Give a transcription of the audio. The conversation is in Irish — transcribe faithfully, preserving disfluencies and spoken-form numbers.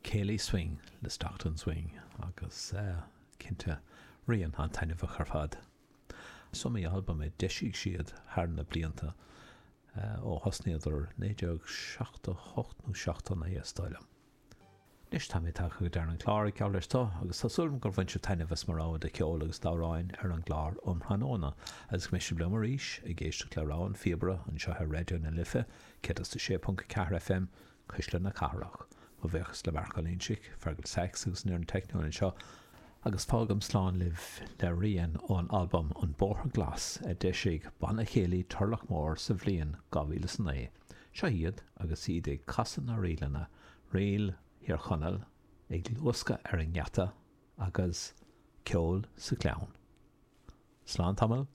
Céilí Swing le Stockton Swing agus cinnte rian an-taitneamhach ar fad. Is iomaí albam a d'eisigh siad thar na blianta ó thosnaíodar naoi déag seachtó hocht nó seachtó naoi is dóigh liom. Anois tá mé tagtha go deireadh an chláir, geall leis seo, agus tá súil agam gur bhain sibh taitneamh as mo rogha de cheol agus d'amhráin ar an gclár um thráthnóna, agus go mbeidh sibh liom arís ag éisteacht le rogha an phíobaire anseo ar Raidió na Life céad is a sé ponc a ceathair F M, Cuisle na Cathrach. Mo bhuíochas le Marc Ó Loingsigh, Fergal Sachs agus an fhoireann teicniúil anseo, agus fágaim slán libh le rian ón albam An Bóthar Glas a d'eisigh Banna Céilí Turlach Mór sa bhliain dhá mhíle is a naoi. Seo iad agus iad ag casadh na ríleanna, Ríl Thír Chonaill, Ag Luascadh ar an nGeata agus Ceol sa Ghleann. Slán tamall.